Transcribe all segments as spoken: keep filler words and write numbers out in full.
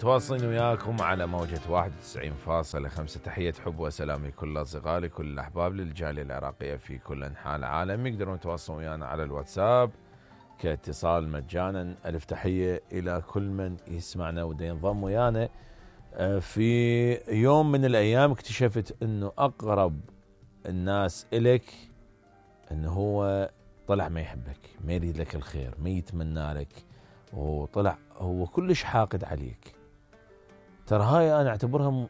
متواصلين وياكم على موجة واحد وتسعين فاصلة خمسة. تحية حب وسلام لكل أصدقائي كل الأحباب للجالية العراقية في كل أنحاء العالم. يقدرون يتواصلون ويانا على الواتساب كاتصال مجانا. ألف تحية إلى كل من يسمعنا وده ينضم ويانا. في يوم من الأيام اكتشفت أنه أقرب الناس إليك أنه هو طلع ما يحبك، ما يريد لك الخير، ما يتمنى لك، وطلع هو كلش حاقد عليك. ترى هاي أنا أعتبرها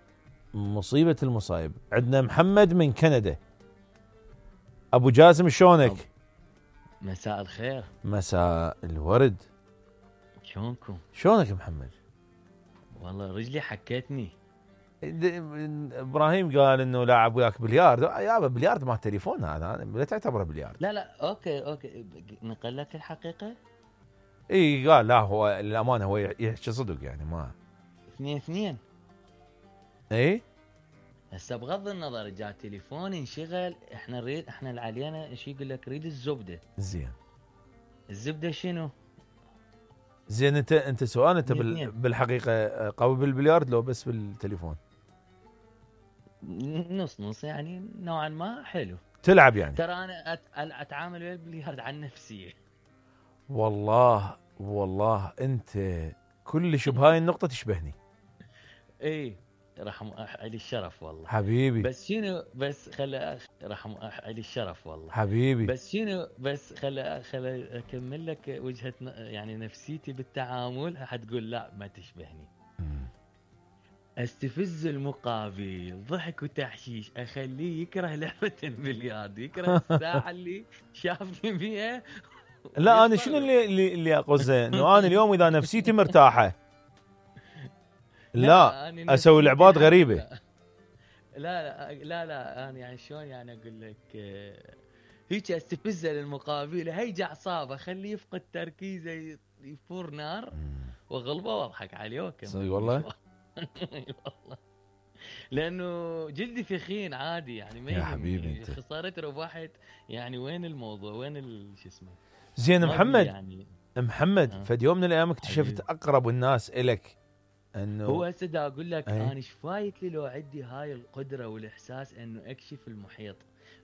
مصيبة المصايب. عندنا محمد من كندا. أبو جاسم شلونك؟ مساء الخير. مساء الورد. شلونكم؟ شلونك محمد؟ والله رجلي حكتني. ابراهيم قال انه لاعب وياك بليارد. يابا بليارد ما تليفون هذا، لا تعتبره بليارد. لا لا اوكي اوكي نقل لك الحقيقه. اي قال لا، هو للامانه هو يحكي صدق يعني. ما اثنين اثنين. اي هسه بغض النظر جاء تليفون انشغل، احنا نريد احنا اللي علينا ايش يقول لك؟ ريد الزبده. زين الزبده شنو؟ زين انت انت سؤال انت بال... بالحقيقه قوي بالبليارد لو بس بالتليفون؟ نص نص يعني، نوعا ما حلو. تلعب يعني؟ ترى انا أت... اتعامل ويا البليارد عن نفسيه. والله والله انت كلش بهاي النقطه تشبهني. اي رحم علي الشرف والله حبيبي. بس شنو بس خلي رحم علي الشرف والله حبيبي. بس شنو بس خلي خلي اكمل لك وجهه يعني نفسيتي بالتعامل. حتقول لا ما تشبهني. م. استفز المقابل ضحك وتحشيش، اخليه يكره لعبه البلياردو، يكره الساعه اللي شافني بيها. لا انا شنو اللي اللي, اللي اقصده انه انا اليوم اذا نفسيتي مرتاحه لا, لا اسوي لعبات غريبه. لا لا لا لا انا يعني شلون يعني اقول لك هيك استفزه للمقابل، هيجي اعصابه خليه يفقد تركيزه يفور نار واغلبه واضحك عليه. صدق والله والله لانه جلدي ثخين عادي يعني. ما يا حبيبي انت خسارة ربحت يعني. وين الموضوع؟ وين شو اسمه؟ زين محمد يعني. محمد آه. فد يوم من الايام اكتشفت اقرب الناس الك انه هو هسه دا اقول لك انا ايش فايت لي لو عندي هاي القدره والاحساس انه اكشف المحيط.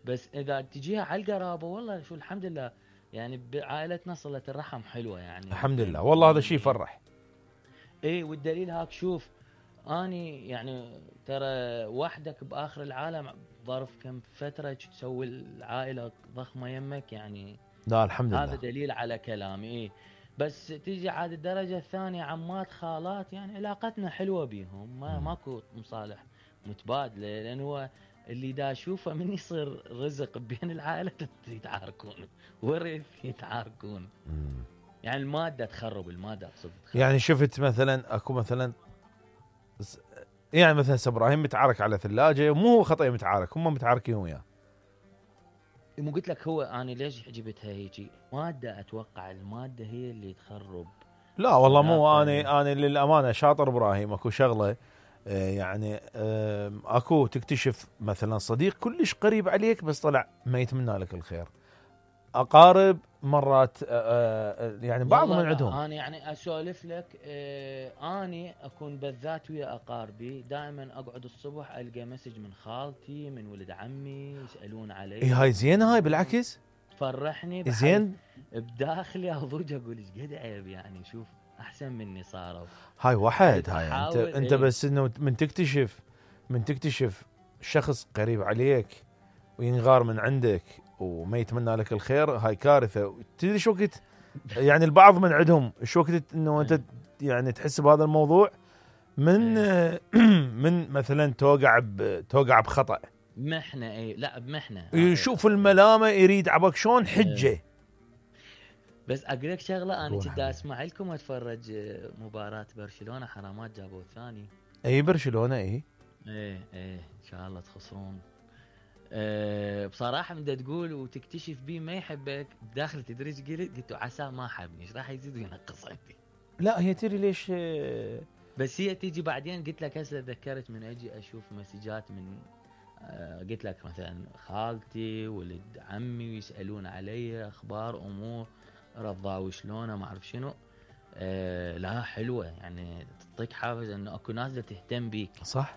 بس اذا تجيها على القرابه والله شو الحمد لله يعني بعائلتنا صله الرحم حلوه يعني. الحمد لله والله هذا شيء يفرح. اي والدليل هاك شوف اني يعني ترى وحدك باخر العالم ظرف كم فتره تسوي العائله ضخمه يمك يعني. لا الحمد لله هذا دليل على كلامي. إيه بس تيجي عاد الدرجه الثانيه عمات خالات يعني علاقتنا حلوه بيهم. ما ماكو مصالح متبادله، لان هو اللي دا اشوفه من يصير رزق بين العائله يتعاركون ورث يتعاركون. يعني الماده تخرب الماده اقصد. يعني شفت مثلا اكو مثلا يعني مثلا ابراهيم متعارك على ثلاجه، مو هو خطأ متعارك، هم متعاركين وياه. مو قلت لك هو انا ليش جبتها هيجي؟ ماده اتوقع الماده هي اللي تخرب. لا والله مو انا انا للامانه شاطر ابراهيم. اكو شغله يعني اكو تكتشف مثلا صديق كلش قريب عليك بس طلع ما يتمنى لك الخير. اقارب مرات يعني بعض من عندهم. انا يعني اسولف لك اني اكون بالذات ويا اقاربي دائما اقعد الصبح القى مسج من خالتي من ولد عمي يسالون علي. اي هاي زين، هاي بالعكس تفرحني زين بداخلي. اضوج اقول ايش قد عيب يعني. شوف احسن مني صاروا. هاي واحد هاي انت انت ايه؟ بس انه من تكتشف من تكتشف شخص قريب عليك وينغار من عندك وما يتمنى لك الخير، هاي كارثه. تدري شو وقت يعني البعض من عندهم شو وقت انه انت يعني تحس بهذا الموضوع من من مثلا توقع توقع بخطأ محنه. اي لا بمحنه يشوف الملامه يريد عبك شلون حجه. بس اقول لك شغله، انا كنت اسمع لكم اتفرج مباراه برشلونه حرامات جابوا الثاني. اي برشلونه اي ايه ايه ان شاء الله تخسرون. أه بصراحه من تقول وتكتشف بيه ما يحبك داخل تدري ايش قلت؟ قلت عسى ما حبني ايش راح يزيد وينقص عندي. لا هي تدري ليش بس هي تيجي بعدين. قلت لك هسه تذكرت من اجي اشوف مسجات من أه قلت لك مثلا خالتي ولد عمي ويسالون علي اخبار امور رضاوي شلونه ما اعرف شنو. آه لا حلوه، يعني تعطيك حافز انه اكو ناس دا تهتم بيك. صح